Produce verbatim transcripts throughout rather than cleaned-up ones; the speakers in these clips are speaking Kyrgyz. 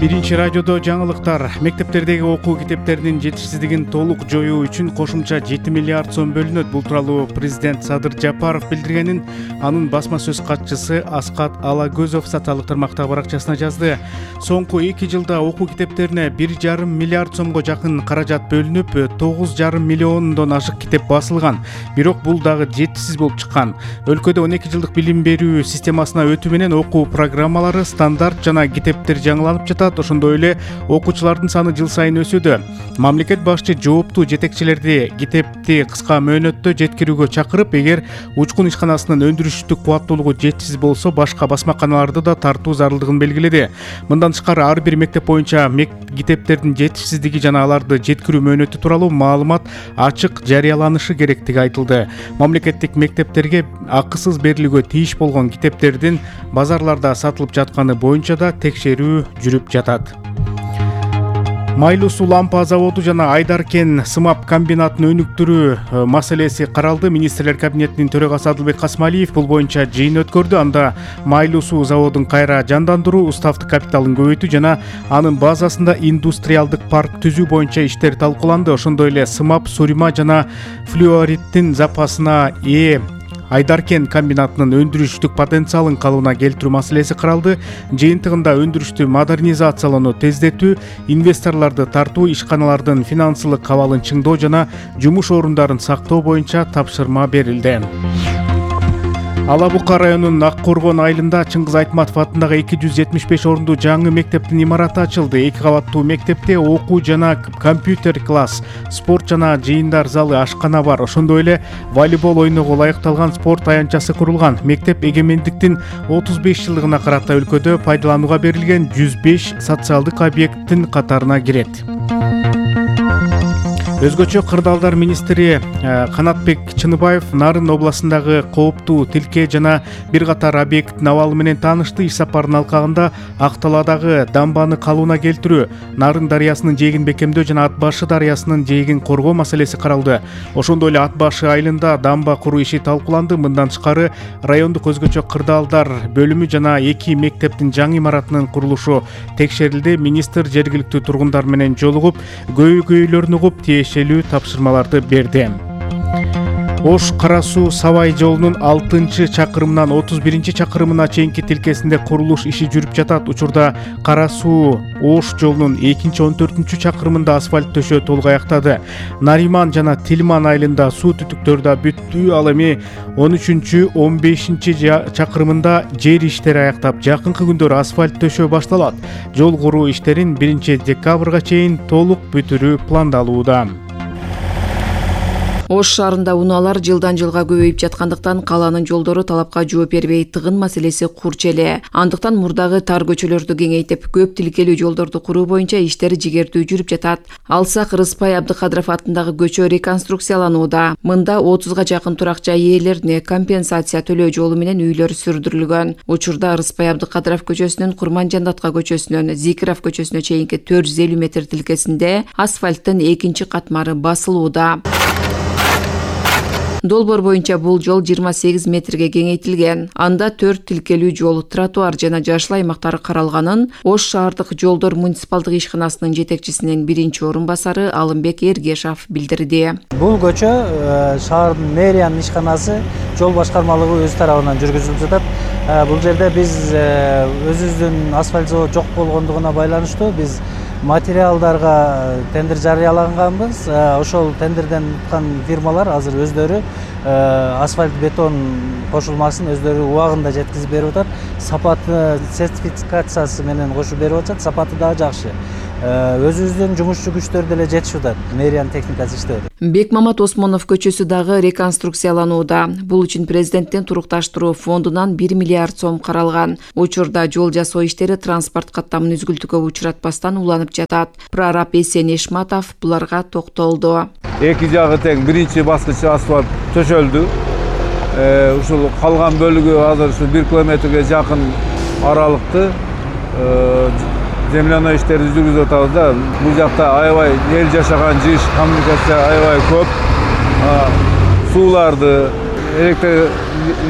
Биринчи радиодо жаңылыктар. Мектептердеги окуу китептеринин жетишсиздигин толук жоюу үчүн кошумча жети миллиард сом бөлүнөт. Бул тууралуу президент Садыр Жапаров билдиргенин анын басма сөз катчысы Аскат Алагөзов социалдык тармактагы баракчасына жазды. Соңку эки жылда окуу китептерине бир жарым миллиард сомго жакын каражат бөлүнүп, тогуз жарым миллиондон ашык китеп басылган. Бирок бул дагы жетишсиз болуп чыккан. Өлкөдө он эки жылдык билим берүү системасына өтүү менен окуу программалары, стандарт жана китептер жаңыланып жатат. Ошондой эле окуучулардын саны жыл сайын өсүүдө. Мамлекет башчы жооптуу жетекчилерди китепти кыска мөөнөттө жеткирүүгө чакырып, эгер учкун ишканасынын өндүрүштүк кубаттуулугу жетишсиз болсо, башка басмаканаларды да тартуу зарылдыгын белгиледи. Мындан тышкары ар бир мектеп боюнча китептердин жетишсиздиги жана аларды жеткирүү мөөнөтү тууралуу маалымат ачык жарыяланышы керектиги айтылды. Мамлекеттик мектептерге акысыз берилүүгө тийиш болгон китептердин базарларда сатылып жатканы боюнча да текшерүү жүрүп жатат. Майлуу суу лампа заводу жана Айдаркен сымап комбинатын өнүктүрүү маселеси каралды. Министрлер кабинетинин төрагасы Адылбек Касмалиев бул боюнча жыйын өткөрдү. Анда майлуу суу заводун кайра жандандыруу, уставдык капиталын көбөйтүү жана анын базасында индустриалдык парк түзүү боюнча иштер талкууланды. Ошондой эле сымап, сурима жана флюориттин запасына ээ Айдаркен комбинатынын өндүрүштүк потенциалын калыбына келтирүү маселеси каралды. Жыйынтыгында өндүрүштү модернизациялоону тездетүү, инвесторлорду тартуу, ишканалардын финансылык абалын чыңдоо жана жумуш орундарын сактоо боюнча тапшырма берилди. Ала Бука районунун Ак Коргон айылында Чыңгыз Айтматов атындагы эки жүз жетимиш беш орундуу жаңы мектептин имараты ачылды. Эки кабаттуу мектепте окуу жана компьютер класс, спорт жана жыйындар залы, ашкана бар. Ошондой эле волейбол ойноого ылайыкталган спорт аянтчасы курулган. Мектеп эгемендиктин отуз беш жылдыгына карата өлкөдө пайдаланууга берилген жүз беш социалдык объекттин катарына кирет. Өзгөчө кырдаалдар министри Канатбек Чыныбаев Нарын областындагы кооптуу тилке жана бир катар объекттин абалы менен таанышты. Иш сапарынын алкагында Акталаадагы дамбаны калыбына келтирүү, Нарын дарыясынын жээгин бекемдөө жана Ат башы дарыясынын жээгин коргоо маселеси каралды. Ошондой эле Ат башы айылында дамба куруу иши талкууланды. Мындан тышкары райондук өзгөчө кырдаалдар бөлүмү жана эки мектептин жаңы имаратынын курулушу текшерилди. Министр жергиликтүү тургундар менен жолугуп, көйгөйлөрүн угуп, тиешелүү тапшырмаларды берди. Ош Кара суу Сабай жолунун алтынчы чакырымынан отуз биринчи чакырымына чейинки тилкесинде курулуш иши жүрүп жатат. Учурда Кара суу Ош жолунун экинчи он төртүнчү чакырымында асфальт төшөө толук аяктады. Нариман жана Тилман айылында суу түтүктөр да бүттү. Ал эми он үчүнчү он бешинчи чакырымында жер иштери аяктап, жакынкы күндөр асфальт төшөө башталат. Жол куруу иштерин биринчи декабрга чейин толук бүтүрүү пландалууда. Ош шаарында унаалар жылдан жылга көбөйүп жаткандыктан калаанын жолдору талапка жооп бербей, тыгын маселеси курч эле. Андыктан мурдагы тар көчөлөрдү кеңейтип, көп тилкелүү жолдорду куруу боюнча иштер жигердүү жүрүп жатат. Алсак Рыспай Абдыкадыров атындагы көчө реконструкцияланууда. Мында отузга жакын турак жай ээлерине компенсация төлөө жолу менен үйлөр сүрдүрүлгөн. Учурда Рыспай Абдыкадыров көчөсүнөн Курманжандатка көчөсүнөн Зикиров көчөсүнө чейинки төрт жүз элүү метр тилкесинде асфальттын экинчи катмары басылууда. Долбоор боюнча бул жол жыйырма сегиз метрге кеңейтилген. Анда төрт тилкелүү жол, тротуар жана жашыл аймактары каралганын Ош шаардык жолдор муниципалдык ишканасынын жетекчисинин биринчи орун басары Алымбек Эргешов билдирди. Бул көчө шаардын мэриянын ишканасы жол башкармалыгы өз тарабынан жүргүзүлүп жатат. Бул жерде биз өзүбүздүн асфальт завод жок болгондугуна байланыштуу биз материалдарга тендер жарыялаганбыз. Ошол тендерден уткан фирмалар азыр өздөрү асфальт бетон кошулмасын өздөрү убагында жеткизип берип атат. Сапаты сертификациясы менен кошуп берип атат. Сапаты дагы жакшы. Өзүбүздүн жумушчу күчтөр деле жетишип атат. Мэриянын техникасы иштеп атат. Бекмамат Осмонов көчөсү дагы реконструкцияланууда. Бул үчүн президенттин турукташтыруу фондунан бир миллиард сом каралган. Учурда жол жасоо иштери транспорт каттамын үзгүлтүүгө учуратпастан уланып жатат. Прораб Эсен Эшматов буларга токтолду. Эки жагы тең биринчи баскыч асфальт төшөлдү. Ушул калган бөлүгү азыр ушу бир километрге жакын аралыкты земляной иштерди жүргүзүп атабыз да. Бул жакта аябай эл жашаган жыш, коммуникация аябай көп. Сууларды, электр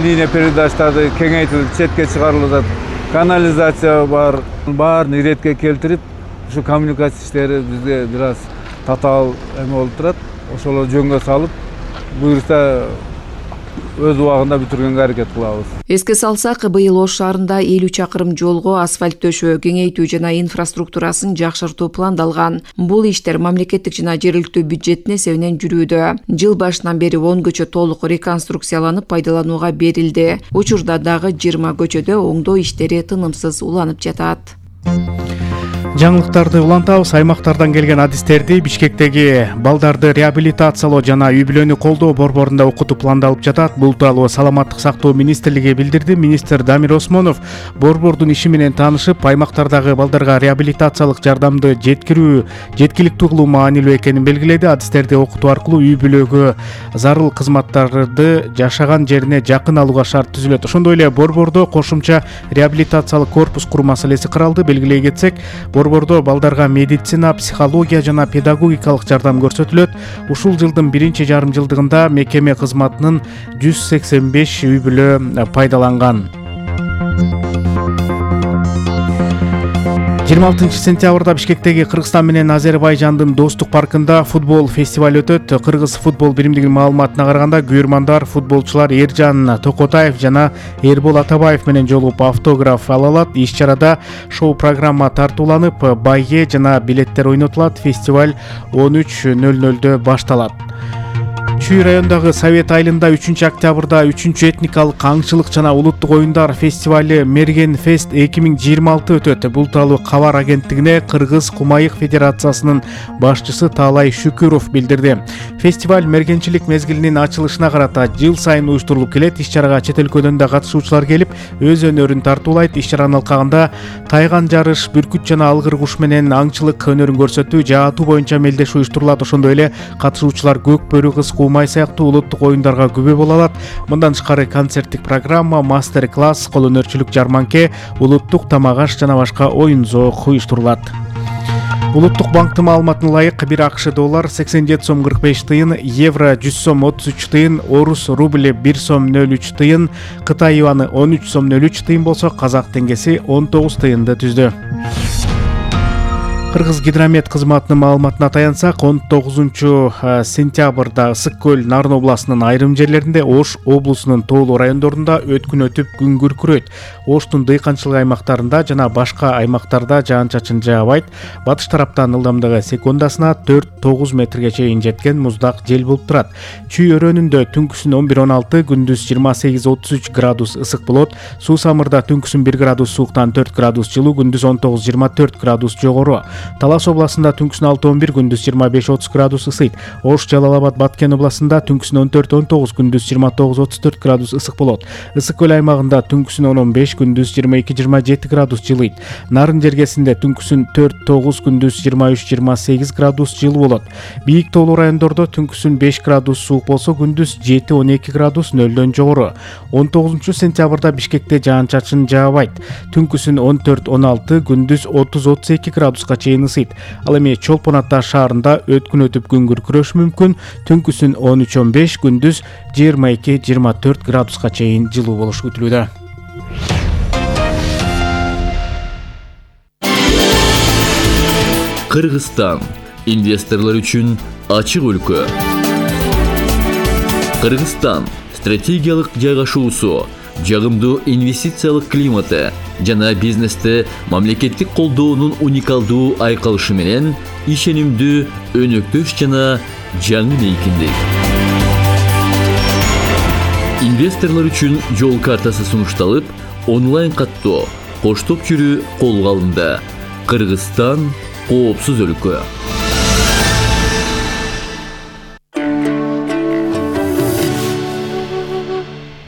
линия передаштарды кеңейтилип четке чыгарылып атат. канализация бар. Баарын иретке келтирип, ушу коммуникация иштери бизге бир аз татаал эме болуп турат. Ошолор жөнгө салып, буюрса өз убагында бүтүргөнгө аракет кылабыз. Эске салсак, быйыл Ош шаарында элүү чакырым жолго асфальт төшөө, кеңейтүү жана инфраструктурасын жакшыртуу пландалган. Бул иштер мамлекеттик жана жергиликтүү бюджеттин эсебинен жүрүүдө. Жыл башынан бери он көчө толук реконструкцияланып пайдаланууга берилди. Учурда дагы жыйырма көчөдө оңдоо иштери тынымсыз уланып жатат. Жаңылыктарды улантабыз. Аймактардан келген адистерди Бишкектеги балдарды реабилитациялоо жана үй-бүлөнү колдоо борборунда окутуу пландалып жатат. Бул тууралуу Саламаттык сактоо министрлиги билдирди. Министр Дамир Осмонов борбордун иши менен таанышып, аймактардагы балдарга реабилитациялык жардамды жеткирүү жеткиликтүү кылуу маанилүү экенин белгиледи. Адистерди окутуу аркылуу үй-бүлөгө зарыл кызматтарды жашаган жерине жакын алууга шарт түзүлөт. Ошондой эле борбордо кошумча реабилитациялык корпус куруу маселеси каралды. Белгилей кетсек, борбордо балдарга медицина, психология жана педагогикалык жардам көрсөтүлөт. Ушул жылдын биринчи жарым жылдыгында мекеме кызматынын жүз сексен беш үй-бүлө пайдаланган. жыйырма алтынчы сентябрда Бишкектеги Кыргызстан менен Азербайжандын достук паркында футбол фестиваль өтөт. Кыргыз футбол биримдигинин маалыматына караганда, күйөрмандар футболчулар Эржан Токотаев жана Эрбол Атабаев менен жолугуп автограф ала алат. Иш-чарада шоу программа тартууланып, байге жана билеттер ойнотулат. Фестиваль он үч нөл нөлдө башталат. Чүй райондагы Совет айылында үчүнчү октябрда үчүнчү этникалык аңчылык жана улуттук оюндар фестивали Мерген Фест эки миң жыйырма алты өтөт. Бул тууралуу кабар агенттигине Кыргыз Кумайык Федерациясынын башчысы Таалай Шүкүров билдирди. Фестиваль мергенчилик мезгилинин ачылышына карата жыл сайын уюштурулуп келет. Иш-чарага чет өлкөдөн да катышуучулар келип, өз өнөрүн тартуулайт. Иш-чаранын алкагында тайган жарыш, бүркүт жана алгыр куш менен аңчылык өнөрүн көрсөтүү, жаатуу боюнча мелдеш уюштурулат. Ошондой эле катышуучулар көк бөрү кыз, Кумай сыяктуу улуттук оюндарга күбө боло алат. Мындан тышкары концерттик программа, мастер-класс, кол өнөрчүлүк жарманке, улуттук тамак аш жана башка оюн зоок уюштурулат. Улуттук банктын маалыматына ылайык, бир АКШ доллар сексен жети сом кырк беш тыйын, евро жүз сом отуз үч тыйын, орус рубли бир сом нөл үч тыйын, Кытай юаны он үч сом нөл үч тыйын болсо, казак теңгеси он тогуз тыйынды түздү. Кыргыз гидромет кызматынын маалыматына таянсак, он тогузунчу сентябрда Ысык көл Нарын областынын айрым жерлеринде, Ош облусунун тоолуу райондорунда өткүн өтүп күн күркүрөйт. Оштун дыйканчылык аймактарында жана башка аймактарда жаан-чачын жаабайт. Батыш тараптан ылдамдыгы секундасына төрт тогуз метрге чейин жеткен муздак жел болуп турат. Чүй өрөөнүндө түнкүсүн он бир он алты, күндүз жыйырма сегиз отуз үч градус ысык болот. Суу самырда түнкүсүн бир градус сууктан төрт градус жылуу, күндүз он тогуз жыйырма төрт градус жогору. Талас областында түнкүсүн алты он бир, күндүз жыйырма беш отуз градус ысыйт. Ош, Жалал Абад, Баткен областында түнкүсүн он төрт он тогуз, күндүз жыйырма тогуз отуз төрт градус ысык болот. Ысык көл аймагында түнкүсүн он он беш, күндүз жыйырма эки жыйырма жети градус жылыйт. Нарын жергесинде түнкүсүн төрт тогуз, күндүз жыйырма үч жыйырма сегиз градус жылуу болот. Бийик тоолуу райондордо түнкүсүн беш градус суук болсо, күндүз жети он эки градус нөлдөн жогору. он тогузунчу сентябрда Бишкекте жаан-чачын жаабайт. Түнкүсүн он төрт он алты, күндүз отуз отуз эки градуска чейин ысыйт. Ал эми Чолпон Ата шаарында өткүн өтүп күн күркүрөшү мүмкүн. Түнкүсүн он үч он беш, күндүз жыйырма эки жыйырма төрт градуска чейин жылуу болушу күтүлүүдө. Кыргызстан инвесторлор үчүн ачык өлкө. Кыргызстан стратегиялык жайгашуусу, жагымдуу инвестициялык климаты жана бизнесте мамлекеттик колдоонун уникалдуу айкалышы менен ишенимдүү, өнөктөш жана жаңы мейкиндик. Инвесторлор үчүн жол картасы сунушталып, онлайн каттоо, коштоп жүрүү колго алынды. Кыргызстан коопсуз өлкө.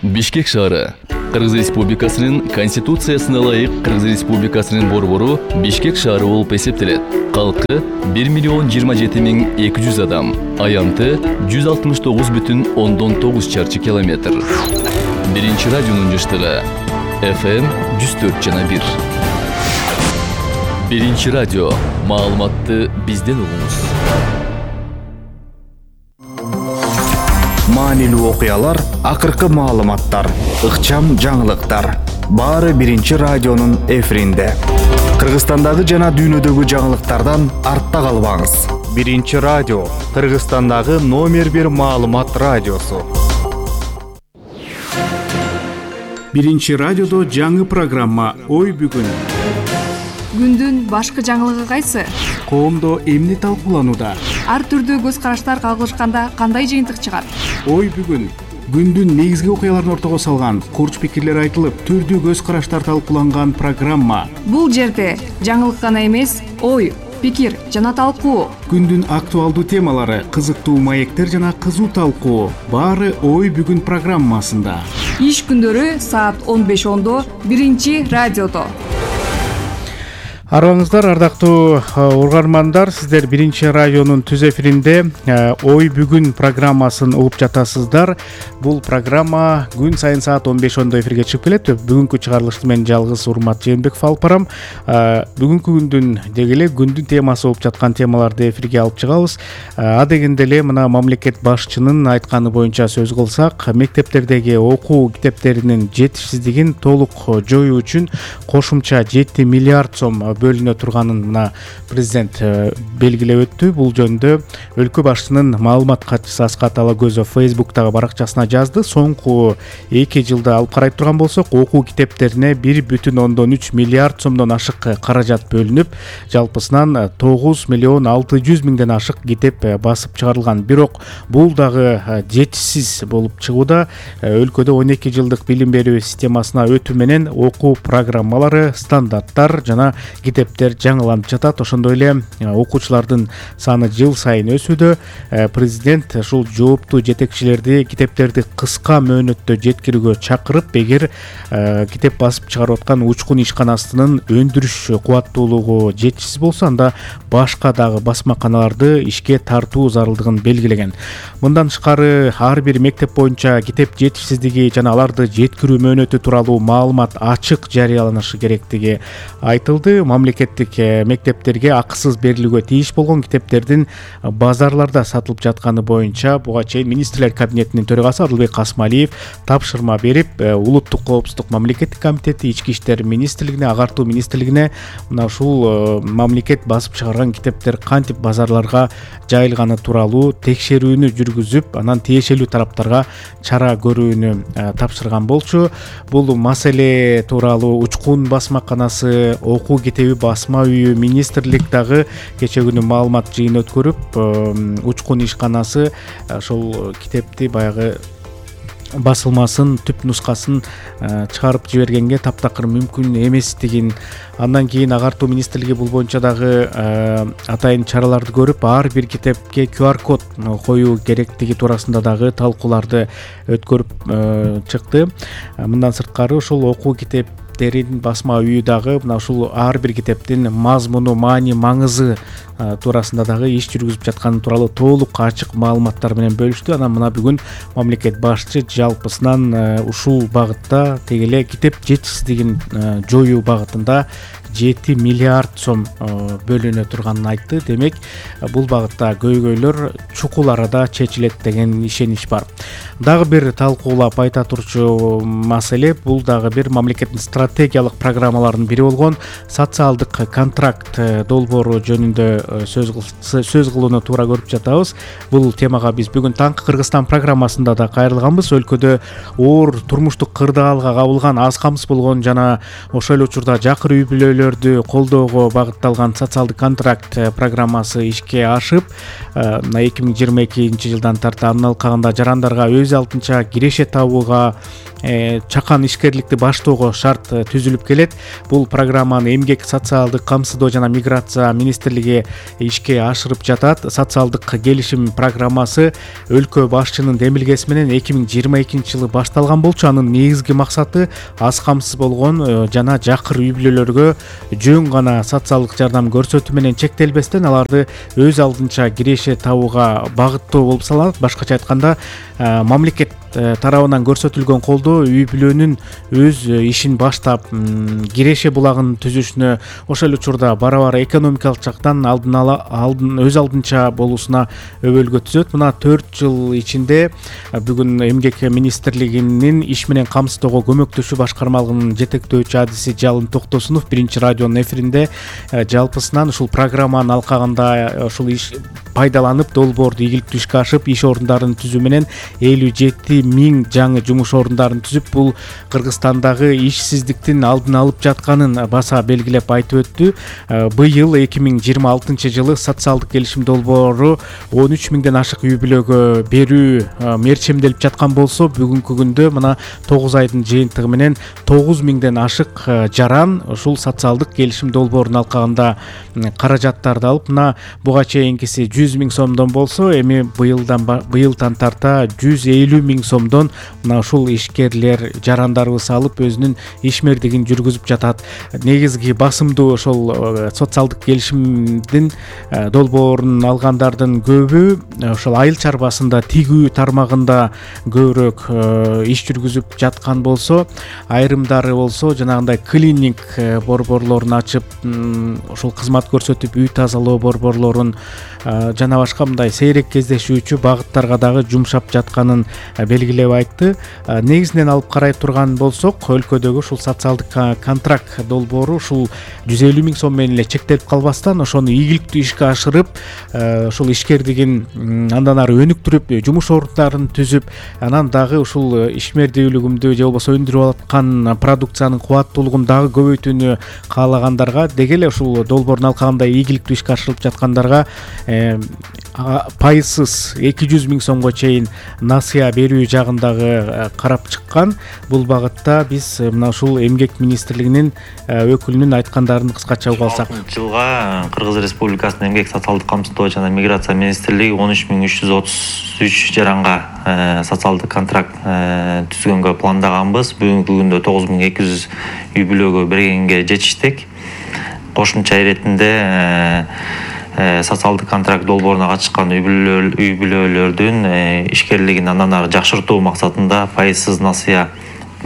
Бишкек шаары Кыргыз Республикасынын Конституциясына ылайык Кыргыз Республикасынын борбору Бишкек шаары болуп эсептелет. Калкы бир миллион жыйырма жети миң эки жүз адам, аянты жүз алтымыш тогуз бүтүн ондон тогуз чарчы километр. Биринчи радионун жыштыгы эф эм жүз төрт жана бир. Биринчи радио, маалыматты бизден угуңуз. Маанилүү окуялар, акыркы маалыматтар, ыкчам жаңылыктар. баары биринчи радионун эфиринде. Кыргызстандагы жана дүйнөдөгү жаңылыктардан артта калбаңыз. Биринчи радио, Кыргызстандагы номер бир маалымат радиосу. Биринчи радиодо жаңы программа «Ой бүгүн». Күндүн башкы жаңылыгы кайсы? Коомдо эмне талкууланууда? Ар түрдүү көз караштар кагылышканда кандай жыйынтык чыгат? Ой бүгүн. Күндүн негизги окуяларын ортого салган, курч пикирлер айтылып, түрдүү көз караштар талкууланган программа. Бул жерде жаңылык гана эмес, ой, пикир жана талкуу. Күндүн актуалдуу темалары, кызыктуу маектер жана кызуу талкуу. Баары Ой бүгүн программасында. Иш күндөрү саат он беш ондо биринчи радиодо. Арыбаңыздар, ардактуу угармандар, сиздер биринчи радионун түз эфиринде Ой бүгүн программасын угуп жатасыздар. Бул программа күн сайын саат он беш ондо эфирге чыгып келет. Бүгүнкү чыгарылышты мен жалгыз Урмат Жээнбеков алып барам. Бүгүнкү күндүн деги эле күндүн темасы болуп жаткан темаларды эфирге алып чыгабыз. А дегенде эле мына мамлекет башчынын айтканы боюнча сөз кылсак, мектептердеги окуу китептеринин жетишсиздигин толук жоюу үчүн кошумча жети миллиард сом бөлүнө турганын мына президент белгилеп өттү. Бул жөнүндө өлкө башчынын маалымат катчысы Аскат Алагөзов Facebook'тагы баракчасына жазды. Соңку эки жылда алып карай турган болсок, окуу китептерине бир бүтүн ондон үч миллиард сомдон ашык каражат бөлүнүп, жалпысынан тогуз миллион алты жүз миңден ашык китеп басып чыгарылган. Бирок бул дагы жетишсиз болуп чыгууда. Өлкөдө он эки жылдык билим берүү системасына өтүү менен окуу программалары, стандарттар жана китептер жаңыланып жатат. Ошондой эле окуучулардын саны жыл сайын өсүүдө. Президент ушул жооптуу жетекчилерди китептерди кыска мөөнөттө жеткирүүгө чакырып, эгер китеп басып чыгарып аткан учкун ишканасынын өндүрүш кубаттуулугу жетишсиз болсо, анда башка дагы басмаканаларды ишке тартуу зарылдыгын белгилеген. Мындан тышкары ар бир мектеп боюнча китеп жетишсиздиги жана аларды жеткирүү мөөнөтү тууралуу маалымат ачык жарыяланышы керектиги айтылды. Мамлекеттик мектептерге акысыз берилүүгө тийиш болгон китептердин базарларда сатылып жатканы боюнча буга чейин министрлер кабинетинин төрагасы Адылбек Касмалиев тапшырма берип, улуттук коопсуздук мамлекеттик комитети, ички иштер министрлигине, агартуу министрлигине мына ушул мамлекет басып чыгарган китептер кантип базарларга жайылганы тууралуу текшерүүнү жүргүзүп, анан тиешелүү тараптарга чара көрүүнү тапшырган болчу. Бул маселе тууралуу учкун басмаканасы, окуу китеби басма үйү, министрлик дагы кече күнү маалымат жыйын өткөрүп, учкун ишканасы ошол китепти баягы басылмасын, түп нускасын чыгарып жибергенге таптакыр мүмкүн эместигин, андан кийин агартуу министрлиги бул боюнча дагы атайын чараларды көрүп, ар бир китепке ку ар код коюу керектиги туурасында дагы талкууларды өткөрүп чыкты. Мындан сырткары ушул окуу китеп терин басма үйү дагы мына ушул ар бир китептин мазмуну, маани, маңызы туурасында дагы иш жүргүзүп жатканы тууралуу толук ачык маалыматтар менен бөлүштү. Анан мына бүгүн мамлекет башчы жалпысынан ушул багытта теги эле китеп жетишсиздигин жоюу багытында жети миллиард сом бөлүнө турганын айтты. Демек, бул багытта көйгөйлөр чукул арада чечилет деген ишенич бар. Дагы бир талкуулап айта турчу маселе, бул дагы бир мамлекеттин стратегиялык программаларынын бири болгон социалдык контракт долбоору жөнүндө сөз сөз кылууну туура көрүп жатабыз. Бул темага биз бүгүн Таңкы Кыргызстан программасында да кайрылганбыз. Өлкөдө оор турмуштук кырдаалга кабылган, аз камсыз болгон жана ошол эле учурда жакыр үй бүлөлөрдү колдоого багытталган социалдык контракт программасы ишке ашып, эки миң жыйырма экинчи жылдан тарта анын алкагында жарандарга өз алдынча киреше табууга, чакан ишкерликти баштоого шарт түзүлүп келет. Бул программаны эмгек, социалдык камсыздоо жана миграция министрлиги ишке ашырып жатат. Социалдык келишим программасы өлкө башчынын демилгеси менен эки миң жыйырма экинчи жылы башталган болчу. Анын негизги максаты аз камсыз болгон жана жакыр үй бүлөлөргө жөн гана социалдык жардам көрсөтүү менен чектелбестен аларды өз алдынча киреше табууга багыттоо болуп саналат. Башкача айтканда, мамлекет тарабынан көрсөтүлгөн колдоо үй бүлөнүн өз ишин баш баштап Киреше булагын түзүшүнө, ошол эле учурда бара-бара экономикалык жактан алдын ала алдын өз алдынча болуусуна өбөлгө түзөт. Мына төрт жыл ичинде бүгүн Эмгек министрлигинин иш менен камсыздоого көмөктөшүү башкармалыгынын жетектөөчү адиси Жалын Токтосунов биринчи радионун эфиринде жалпысынан ушул программанын алкагында ушул иш пайдаланып долбоорду ийгиликтүү ишке ашып, иш орундарын түзүү менен элүү жети миң жаңы жумуш орундарын түзүп, бул Кыргызстандагы ишсиздиктин алдын алып жатканын баса белгилеп айтып өттү. Быйыл эки миң жыйырма алтынчы жылы социалдык келишим долбоору он үч миңден ашык үй бүлөгө берүү мерчемделип жаткан болсо, бүгүнкү күндө мына тогуз айдын жыйынтыгы менен тогуз миңден ашык жаран ушул социалдык келишим долбоорунун алкагында каражаттарды алып, мына буга чейинкиси жүз миң сомдон болсо, эми быйылдан быйылдан тарта жүз элүү миң сомдон мына ушул ишкерлер, жарандарыбыз алып өзүнүн ишмердигин жүргүзүп жатат. Негизги басымдуу ошол социалдык келишимдин долбоорун алгандардын көбү ошол айыл чарбасында, тигүү тармагында көбүрөөк иш жүргүзүп жаткан болсо, айрымдары болсо жанагындай клиник борборлорун ачып, ошол кызмат көрсөтүп, үй тазалоо борборлорун жана башка мындай сейрек кездешүүчү багыттарга дагы жумшап жатканын белгилеп айтты. Негизинен алып карай турган болсок, өлкөдөгү ушул социалдык контракт долбоору ушул жүз элүү миң сом менен эле чектелип калбастан, ошону ийгиликтүү ишке ашырып, ушул ишкердигин андан ары өнүктүрүп, жумуш орундарын түзүп, анан дагы ушул ишмердүүлүгүмдү же болбосо өндүрүп аткан продукциянын кубаттуулугун дагы көбөйтүүнү каалагандарга, деги эле ушул долбоордун алкагында ийгиликтүү ишке ашырылып жаткандарга пайызсыз эки жүз миң сомго чейин насыя берүү жагын дагы карап чыккан. Бул багытта биз мына ушул Эмгек министрлигинин өкүлүнүн айткандарын кыскача угуп алсак. Жылга Кыргыз Республикасынын Эмгек социалдык камсыздоо жана миграция министрлиги он үч миң үч жүз отуз үч жаранга социалдык контракт түзгөнгө пландаганбыз. Бүгүнкү күндө тогуз миң эки жүз үй бүлөгө бергенге жетиштик. Кошумча иретинде социалдык контракт долбооруна катышкан үй бүлөлөрдүн ишкерлигин андан ары жакшыртуу максатында пайызсыз насыя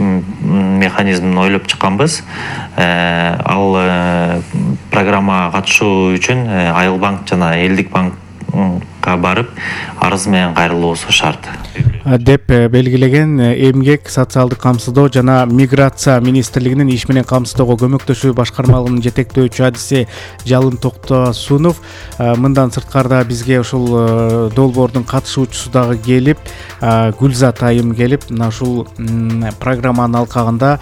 механизмин ойлоп чыкканбыз. Ал программага катышуу үчүн Айыл банк жана Элдик банкка барып арыз менен кайрылуусу шарт деп белгилеген Эмгек социалдык камсыздоо жана миграция министрлигинин иш менен камсыздоого көмөктөшүү башкармалыгынын жетектөөчү адиси Жалын Токтосунов. Мындан сырткары бизге ушул долбоордун катышуучусу дагы келип, Гүлзат айым келип, мына ушул программанын алкагында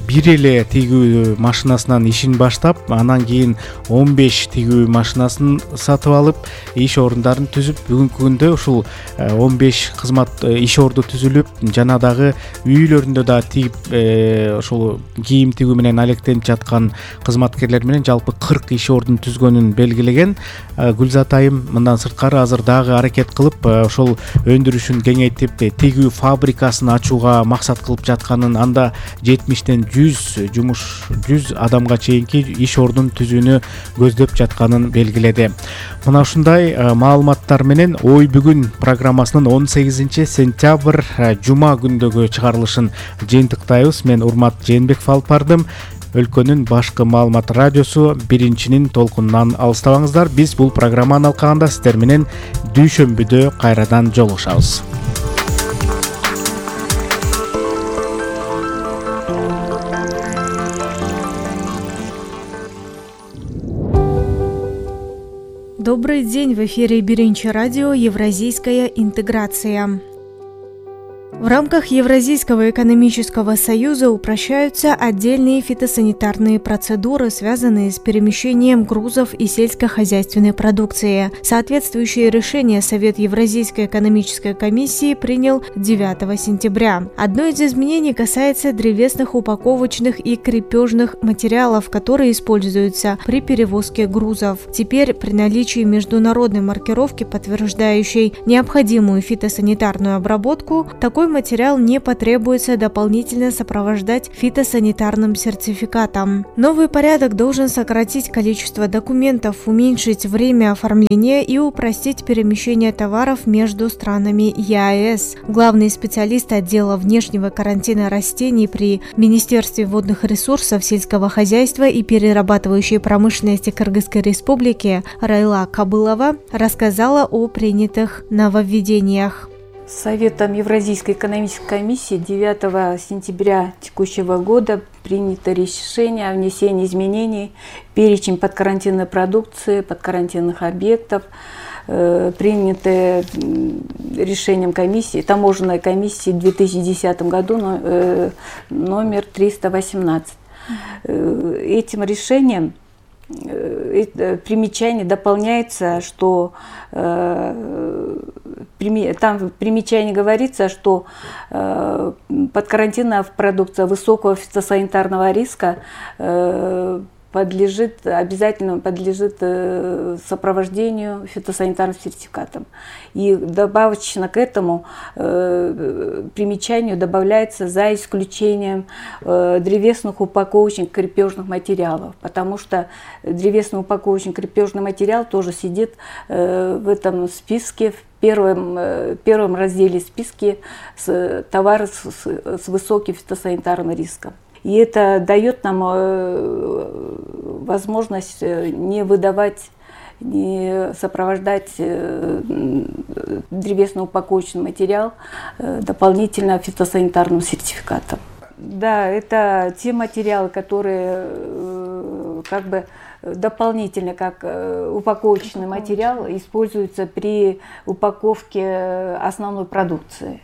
бир эле тигүү машинасынан ишин баштап, анан кийин он беш тигүү машинасын сатып алып, иш орундарын түзүп, бүгүнкү күндө ушул он беш кызмат иш орду түзүлүп, жана дагы үйлөрүндө да тигип, ошол кийим тигүү менен алектенип жаткан кызматкерлер менен жалпы кырк иш ордун түзгөнүн белгилеген. Гүлзат айым мындан сырткары азыр дагы аракет кылып, ошол өндүрүшүн кеңейтип, тигүү фабрикасын ачууга максат кылып жатканын, анда жетимиштен жүз жумуш жүз адамга чейинки иш ордун түзүүнү көздөп жатканын белгиледи. Мына ушундай маалыматтар менен Ой бүгүн программасынын он сегизинчи сентябрь жума күндөгү чыгарылышын жыйынтыктайбыз. Мен Урмат Жээнбеков алып бардым. Өлкөнүн башкы маалымат радиосу биринчинин толкунунан алыстабаңыздар. Биз бул программанын алкагында сиздер менен дүйшөмбүдө кайрадан жолугушабыз. Добрый день, в эфире Биринчи радио «Евразийская интеграция». В рамках Евразийского экономического союза упрощаются отдельные фитосанитарные процедуры, связанные с перемещением грузов и сельскохозяйственной продукции. Соответствующее решение Совет Евразийской экономической комиссии принял девятого сентября. Одно из изменений касается древесных упаковочных и крепежных материалов, которые используются при перевозке грузов. Теперь при наличии международной маркировки, подтверждающей необходимую фитосанитарную обработку, такой Такой материал не потребуется дополнительно сопровождать фитосанитарным сертификатом. Новый порядок должен сократить количество документов, уменьшить время оформления и упростить перемещение товаров между странами ЕАЭС. Главный специалист отдела внешнего карантина растений при Министерстве водных ресурсов, сельского хозяйства и перерабатывающей промышленности Кыргызской Республики Райла Кабылова рассказала о принятых нововведениях. Советом Евразийской экономической комиссии девятого сентября текущего года принято решение о внесении изменений в перечень подкарантинной продукции, подкарантинных объектов, э, принятые решением комиссии, таможенной комиссии в две тысячи десятом году э, номер триста восемнадцать. Э, этим решением примечание дополняется, что э, там в примечании говорится, что э, подкарантинная продукция высокого фитосанитарного риска э, подлежит, обязательно подлежит э, сопровождению фитосанитарным сертификатом. И добавочно к этому э, примечанию добавляется за исключением э, древесных упаковочных крепежных материалов, потому что древесный упаковочный крепежный материал тоже сидит э, в этом списке, в первом, э, первом разделе списка с, товары с, с, с высоким фитосанитарным риском. И это дает нам возможность не выдавать, не сопровождать древесно-упаковочный материал дополнительно фитосанитарным сертификатом. Да, это те материалы, которые как бы дополнительно, как упаковочный материал, используются при упаковке основной продукции.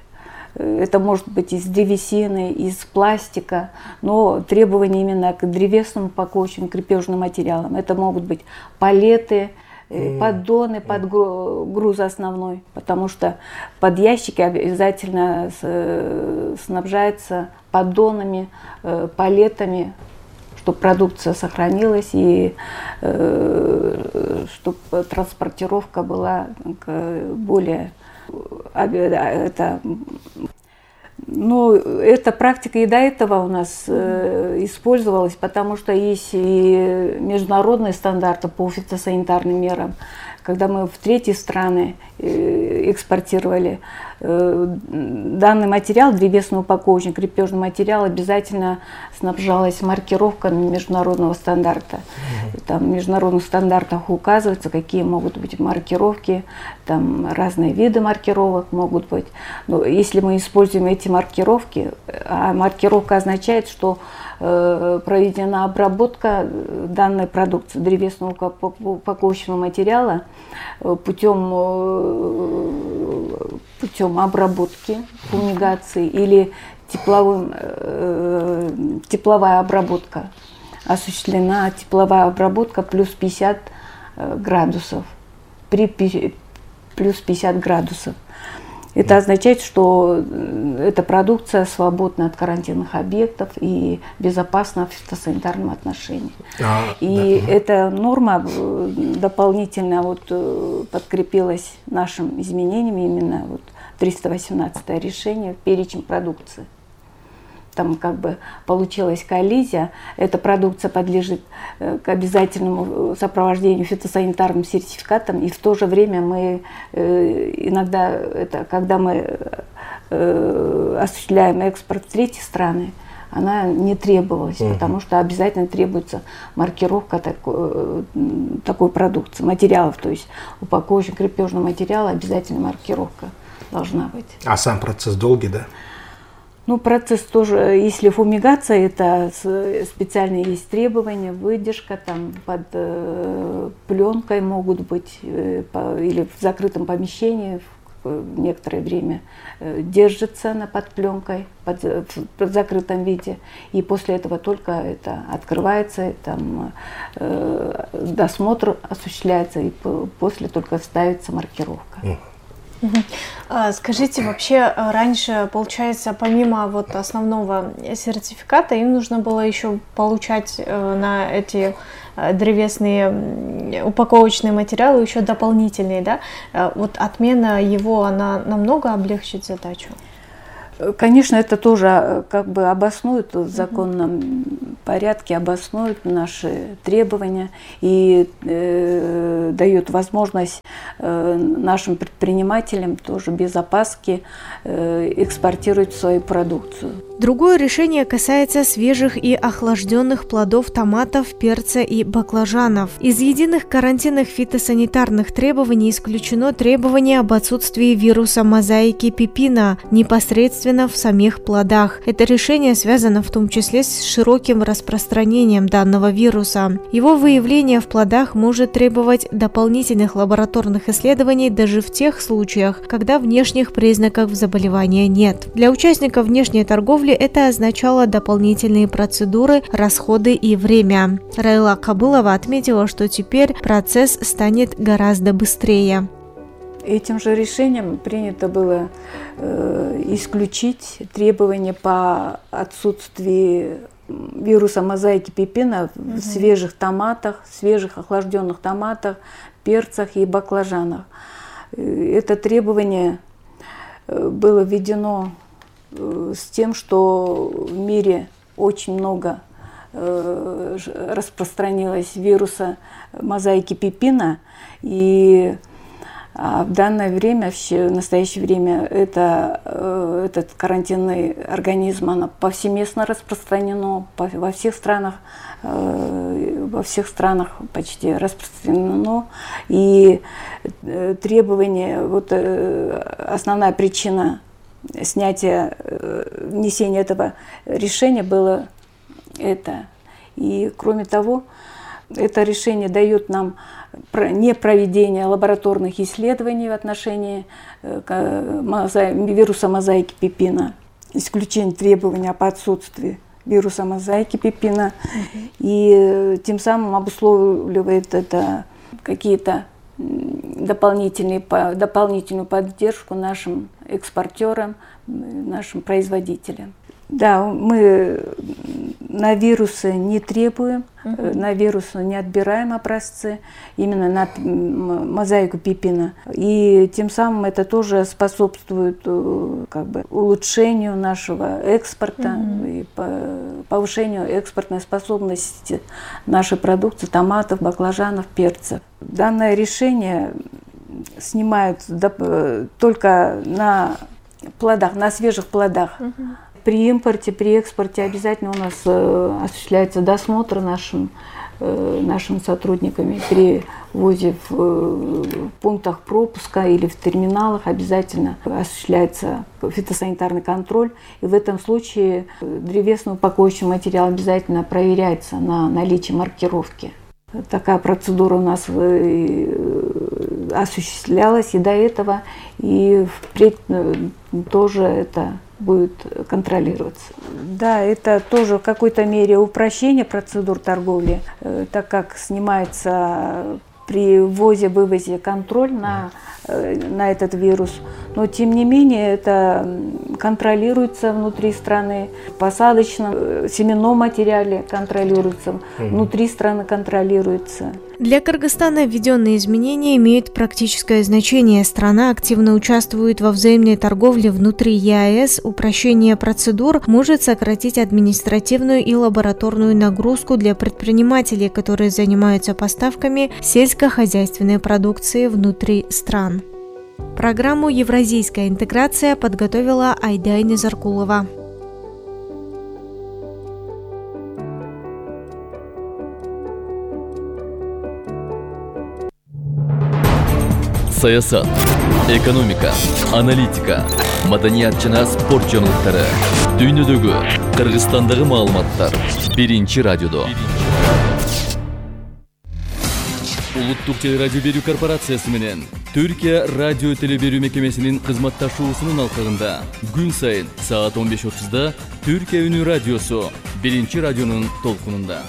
Это может быть из древесины, из пластика, но требования именно к древесному упаковочным крепежным материалам. Это могут быть палеты, поддоны под груз основной, потому что под ящики обязательно снабжаются поддонами, палетами, чтобы продукция сохранилась и чтобы транспортировка была более... Это, ну, эта практика и до этого у нас э, использовалась, потому что есть и международные стандарты по фитосанитарным мерам. Когда мы в третьи страны э, экспортировали э, данный материал, древесно-упаковочный крепежный материал, обязательно снабжалась маркировками международного стандарта. Там в международных стандартах указывается, какие могут быть маркировки, там разные виды маркировок могут быть. Но если мы используем эти маркировки, а маркировка означает, что э, проведена обработка данной продукции, древесного упаковочного материала, путем, путем обработки, фумигации или тепловым, э, тепловая обработка. Осуществлена тепловая обработка плюс пятьдесят градусов, при плюс пятьдесят градусов. Это означает, что эта продукция свободна от карантинных объектов и безопасна в фитосанитарном отношении. А, и да. Эта норма дополнительно вот подкрепилась нашим изменением, именно вот триста восемнадцатое решение в перечень продукции. Там как бы получилась коллизия, эта продукция подлежит к обязательному сопровождению фитосанитарным сертификатом, и в то же время мы иногда, это, когда мы осуществляем экспорт в третьи страны, она не требовалась, угу. потому что обязательно требуется маркировка такой, такой продукции, материалов, то есть упаковочный крепежный материал, обязательно маркировка должна быть. А сам процесс долгий, да? Ну, процесс тоже, если фумигация, это специальные есть требования, выдержка, там под э, пленкой могут быть, э, по, или в закрытом помещении в некоторое время э, держится она под пленкой, под, в, в закрытом виде, и после этого только это открывается, и там э, досмотр осуществляется, и после только ставится маркировка. Скажите, вообще раньше, получается, помимо вот основного сертификата, им нужно было еще получать на эти древесные упаковочные материалы еще дополнительные, да? Вот отмена его, она намного облегчит задачу? Конечно, это тоже как бы обоснует в законном порядке, обоснует наши требования и э, дает возможность э, нашим предпринимателям тоже без опаски э, экспортировать свою продукцию. Другое решение касается свежих и охлажденных плодов томатов, перца и баклажанов. Из единых карантинных фитосанитарных требований исключено требование об отсутствии вируса мозаики пипина непосредственно в самих плодах. Это решение связано в том числе с широким распространением данного вируса. Его выявление в плодах может требовать дополнительных лабораторных исследований даже в тех случаях, когда внешних признаков заболевания нет. Для участников внешней торговли это означало дополнительные процедуры, расходы и время. Райла Кабылова отметила, что теперь процесс станет гораздо быстрее. Этим же решением принято было э, исключить требования по отсутствию вируса мозаики пипина в mm-hmm. свежих томатах, свежих охлажденных томатах, перцах и баклажанах. Это требование было введено с тем, что в мире очень много э, распространилось вируса мозаики пипина, и а в данное время, в настоящее время, это, э, этот карантинный организм оно повсеместно распространено по, во всех странах, э, во всех странах почти распространено, и э, требования, вот э, основная причина снятия, внесения этого решения было это. И кроме того, это решение дает нам не проведение лабораторных исследований в отношении вируса мозаики пипина, исключение требования по отсутствию вируса мозаики пипина, и тем самым обусловливает это какие-то дополнительные, дополнительную поддержку нашим экспортерам, нашим производителям. Да, мы на вирусы не требуем, uh-huh. на вирусы не отбираем образцы, именно на мозаику пипина. И тем самым это тоже способствует как бы улучшению нашего экспорта uh-huh. и повышению экспортной способности нашей продукции, томатов, баклажанов, перцев. Данное решение снимают только на плодах, на свежих плодах. Uh-huh. При импорте, при экспорте обязательно у нас э, осуществляется досмотр нашим, э, нашими сотрудниками. При ввозе в э, пунктах пропуска или в терминалах обязательно осуществляется фитосанитарный контроль. И в этом случае древесный упаковочный материал обязательно проверяется на наличие маркировки. Такая процедура у нас осуществлялась и до этого, и впредь тоже это будет контролироваться. Да, это тоже в какой-то мере упрощение процедур торговли, так как снимается при ввозе-вывозе контроль на, на этот вирус. Но тем не менее это контролируется внутри страны, в посадочном семенном материале контролируется, внутри страны контролируется. Для Кыргызстана введенные изменения имеют практическое значение. Страна активно участвует во взаимной торговле внутри ЕАЭС. Упрощение процедур может сократить административную и лабораторную нагрузку для предпринимателей, которые занимаются поставками сельскохозяйственной продукции внутри стран. Программу «Евразийская интеграция» подготовила Айдай Незаркулова. Саясат, экономика, аналитика, маданият жана спорт жаңылыктары, дүйнөдөгү, Кыргызстандагы маалыматтар биринчи радиодо. Улуттук телерадио берүү корпорациясы менен Түркия радио телеберүү мекемесинин кызматташуусунун алкагында күн сайын саат он беш отузда Түркия үнү радиосу биринчи радионун толкунунда.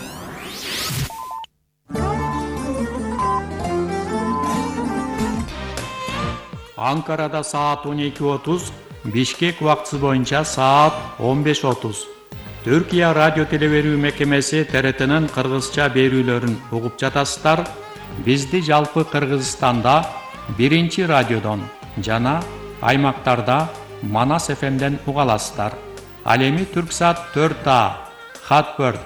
Анкарада саат он эки отуз, Бишкек убактысы боюнча саат он беш отуз. Түркия радио телеберүү мекемеси Т Р Т'нын кыргызча берүүлөрүн угуп жатасыздар. Бизди жалпы Кыргызстанда биринчи радиодон жана аймактарда Манас эф эмден уга аласыздар. Ал эми Түрксат төрт А, Хатберд,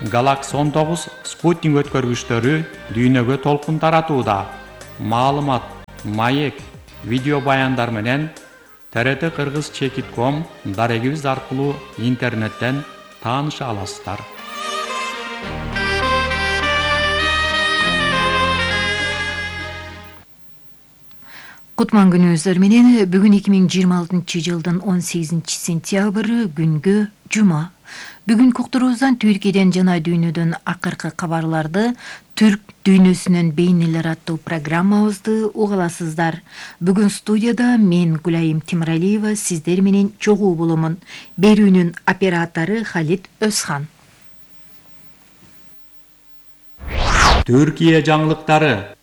Galaxy он тогуз спутник өткөргүчтөрү дүйнөгө толкун таратууда. Маалымат, маек, видео баяндар менен тэ эр тэ кыргыз чекит точка ком дарегибиз аркылуу интернеттен тааныша аласыздар. Кутман күнүңүздөр менен бүгүн эки миң жыйырма алтынчы жылдын он сегизинчи сентябры күнгө жума. Бүгүнкү уктуруубуздан Түркияден жана дүйнөдөн акыркы кабарларды Түрк дүйнөсүнөн бейнелер аттуу программабызды уга аласыздар. Бүгүн студияда мен Гүлайым Тимиралиева сиздер менен чогуу боломун. Берүүнүн оператору Халит Өзхан. Түркия жаңылыктары.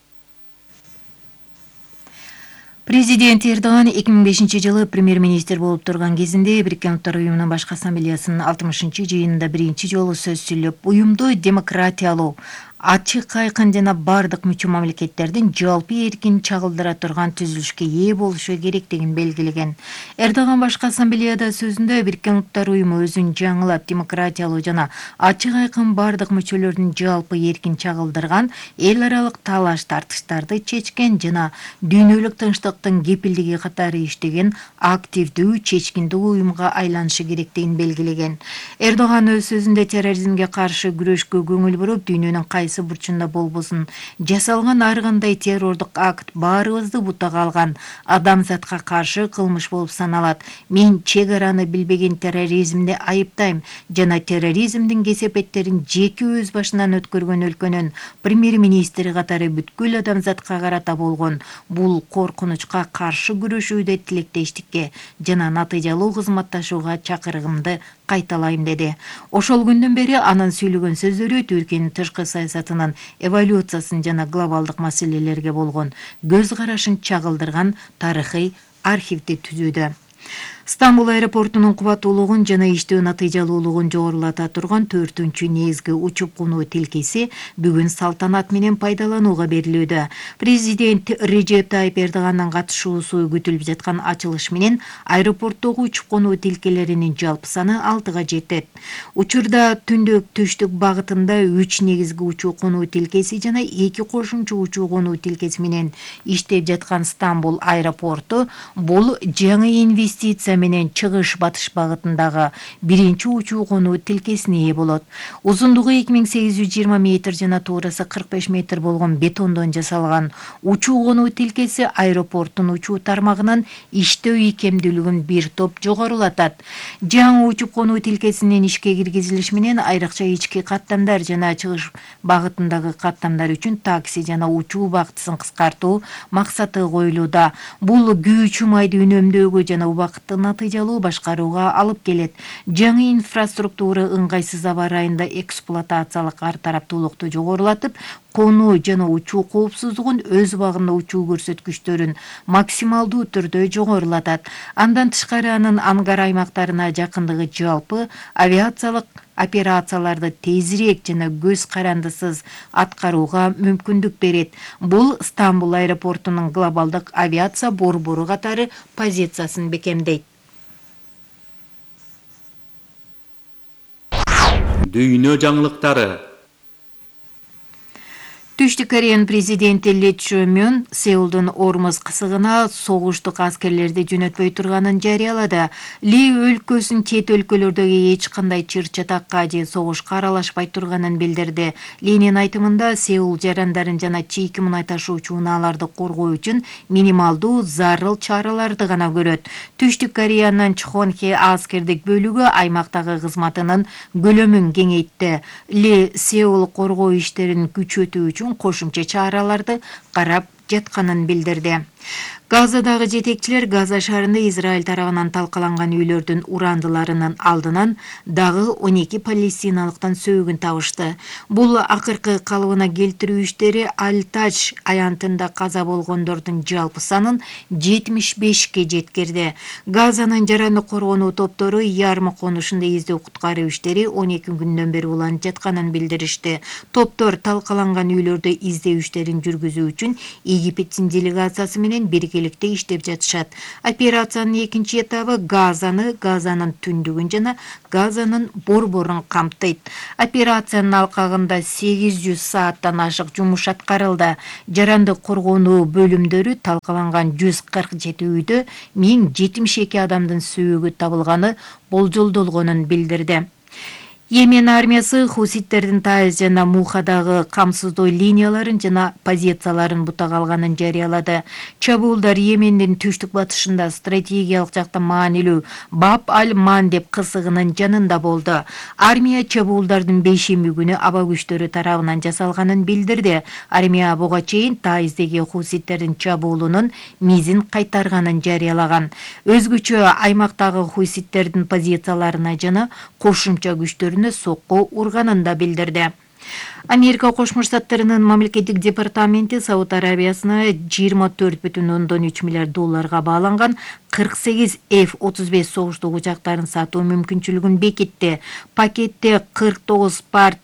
Президент Эрдоган эки миң бешинчи жылы премьер-министр болуп турган кезинде Бириккен Улуттар уюмунун башкы ассамблеясынын алтымышынчы жыйынында биринчи жолу сөз сүйлөп, уюмду демократиялуу, ачык, айкын жана бардык мүчө мамлекеттердин жалпы эркин чагылдыра турган түзүлүшкө ээ болушу керектигин белгилеген. Эрдоган башкы ассамблеяда сөзүндө Бириккен Улуттар уюму өзүн жаңылап, демократиялуу жана ачык, айкын бардык мүчөлөрдүн жалпы эркин чагылдырган эл аралык талаш тартыштарды чечкен жана дүйнөлүк тынчтыктын кепилдиги катары иштеген активдүү, чечкиндүү уюмга айланышы керектигин белгилеген. Эрдоган өз сөзүндө терроризмге каршы күрөшкө көңүл буруп, дүйнөнүн кайсы бурчунда болбосун жасалган ар кандай террордук акт баарыбызды бутага алган адамзатка каршы кылмыш болуп саналат. Мен чек араны билбеген терроризмди айыптайм жана терроризмдин кесепеттерин жеке өз башынан өткөргөн өлкөнүн премьер-министри катары бүткүл адамзатка карата болгон бул коркунучка каршы күрөшүүдө тилектештикке жана натыйжалуу кызматташууга чакырыгымды кайталайм деди. Ошол күндөн бери анын сүйлөгөн сөздөрү Түркиянын тышкы саясатынын эволюциясын жана глобалдык маселелерге болгон көз карашын чагылдырган тарыхый архивди түзүүдө. Стамбул аэропортунун кубаттуулугун жана иштөө натыйжалуулугун жогорулата турган төртүнчү негизги учуп конуу тилкеси бүгүн салтанат менен пайдаланууга берилүүдө. Президент Режеп Тайип Эрдогандын катышуусу күтүлүп жаткан ачылыш менен аэропорттогу учуп конуу тилкелеринин жалпы саны алтыга жетет. Учурда түндүк түштүк багытында үч негизги учуу конуу тилкеси жана эки кошумча учуу конуу тилкеси менен иштеп жаткан Стамбул аэропорту бул жаңы инвестиция менен чыгыш батыш багытындагы биринчи учуу конуу тилкесине ээ болот. Узундугу эки миң сегиз жүз жыйырма метр жана туурасы кырк беш метр болгон бетондон жасалган учуу конуу тилкеси аэропорттун учуу тармагынын иштөө ийкемдүүлүгүн бир топ жогорулатат. Жаңы учуп конуу тилкесинин ишке киргизилиши менен айрыкча ички каттамдар жана чыгыш багытындагы каттамдар үчүн такси жана учуу багытысын кыскартуу максаты коюлууда. Бул күйүүчү майды үнөмдөөгө жана убакытты натыйжалуу башкарууга алып келет. Жаңы инфраструктура ыңгайсыз аба ырайында эксплуатациялык ар тараптуулукту жогорулатып, конуу жана учуу коопсуздугун өз убагында учуу көрсөткүчтөрүн максималдуу түрдө жогорулатат. Андан тышкары анын ангар аймактарына жакындыгы жалпы авиациялык операцияларды тезирээк жана көз карандысыз аткарууга мүмкүндүк берет. Бул Стамбул аэропортунун глобалдык авиация борбору катары позициясын бекемдейт. Дүйнө жаңылыктары. Түштүк Кореянын президенти Ли Чжэ Мин Сеулдун Ормуз кысыгына согуштук аскерлерди жөнөтпөй турганын жарыялады. Ли өлкөсүн чет өлкөлөрдөгү эч кандай чыр-чатакка же согушка аралашпай турганын билдирди. Линин айтымында Сеул жарандарын жана чийки мунай ташуучу унааларды коргоо үчүн минималдуу зарыл чараларды гана көрөт. Түштүк Кореянын Чхонхе аскердик бөлүгү аймактагы кызматынын көлөмүн кеңейтти. Ли Сеул коргоо иштерин күчөтүү үчүн кошумча чараларды карап жатканын билдирди. Газадагы жетекчилер Газа шаарында Израиль тарабынан талкаланган үйлөрдүн урандыларынын алдынан дагы он эки палестиналыктан сөөгүн табышты. Бул акыркы калыбына келтирүү иштери Аль-Тадж аянтында каза болгондордун жалпы санын жетимиш бешке жеткирди. Газанын жараны коргонуу топтору Ярмы конушунда издөө куткаруу иштери он эки күндөн бери уланып жатканын билдиришти. Топтор талкаланган үйлөрдө издөө иштерин жүргүзүү үчүн Египеттин делегациясы менен биргеликте иштеп жатышат. Операциянын экинчи этабы Газаны, Газанын түндүгүн жана Газанын борборун камтыйт. Операциянын алкагында сегиз жүз сааттан ашык жумуш аткарылды. Жарандык коргонуу бөлүмдөрү талкаланган жүз кырк жети үйдө миң жетимиш эки адамдын сөөгү табылганы болжолдолгонун билдирди. Йемен армиясы хуситтердин Таиз жана Мухадагы камсыздоо линияларын жана позицияларын бутага алганын жарыялады. Чабуулдар Йемендин түштүк батышында стратегиялык жактан маанилүү Баб аль-Мандеб кысыгынын жанында болду. Армия чабуулдардын бейшемби күнү аба күчтөрү тарабынан жасалганын билдирди. Армия буга чейин Таиздеги хуситтердин чабуулунун мизин кайтарганын жарыялаган. Өзгөчө аймактагы хуситтердин позицияларына жана кошумча күчтөрүнө сокку урганын да билдирди. Америка Кошмо Штаттарынын мамлекеттик департаменти Сауд Арабиясына жыйырма төрт бүтүн ондон үч миллиард долларга бааланган кырк сегиз эф отуз беш согуштук учактарын сатуу мүмкүнчүлүгүн бекитти. Пакетте кырк тогуз Part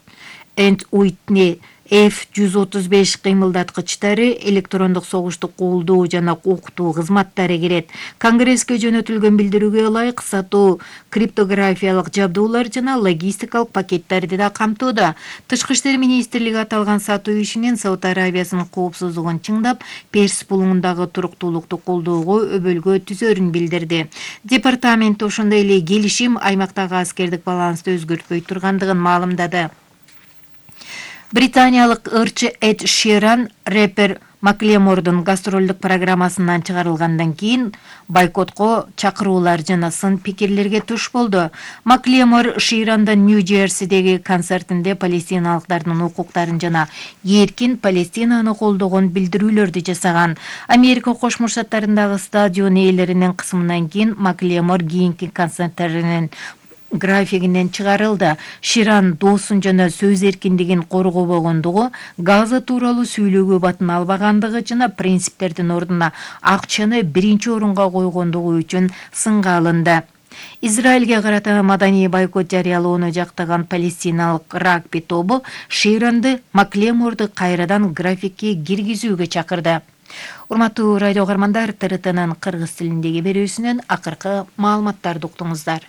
and Whitney эф жүз отуз беш кыймылдаткычтары, электрондук согуштук колдоо жана окутуу кызматтары кирет. Конгресске жөнөтүлгөн билдирүүгө ылайык сатуу криптографиялык жабдуулар жана логистикалык пакеттерди да камтууда. Тышкы иштер министрлиги аталган сатуу ишинин Сауд Арабиясынын коопсуздугун чыңдап, Перс булуңундагы туруктуулукту колдоого өбөлгө түзөрүн билдирди. Департамент ошондой эле келишим аймактагы аскердик балансты өзгөртпөй тургандыгын маалымдады. Британиялык ырчы Эд Ширан рэпер Маклемордун гастролдук программасынан чыгарылгандан кийин бойкотко чакыруулар жана сын пикирлерге туш болду. Маклемор Ширандын Нью-Джерсидеги концертинде палестиналыктардын укуктарын жана эркин Палестинаны колдогон билдирүүлөрдү жасаган. Америка Кошмо Штаттарындагы стадион ээлеринин кысымынан кийин Маклемор кийинки концерттеринин графигинен чыгарылды. Ширан доосун жана сөз эркиндигин коргобогондугу, Газа тууралуу сүйлөөгө батын албагандыгы жана принциптердин ордуна акчаны биринчи орунга койгондугу үчүн сынга алынды. Израилге карата маданий бойкот жарыялоону жактаган палестиналык рагби тобу Ширанды Маклеморду кайрадан графикке киргизүүгө чакырды. Урматтуу радио каармандар, ТРТнын кыргыз тилиндеги берүүсүнөн акыркы маалыматтарды уктуңуздар.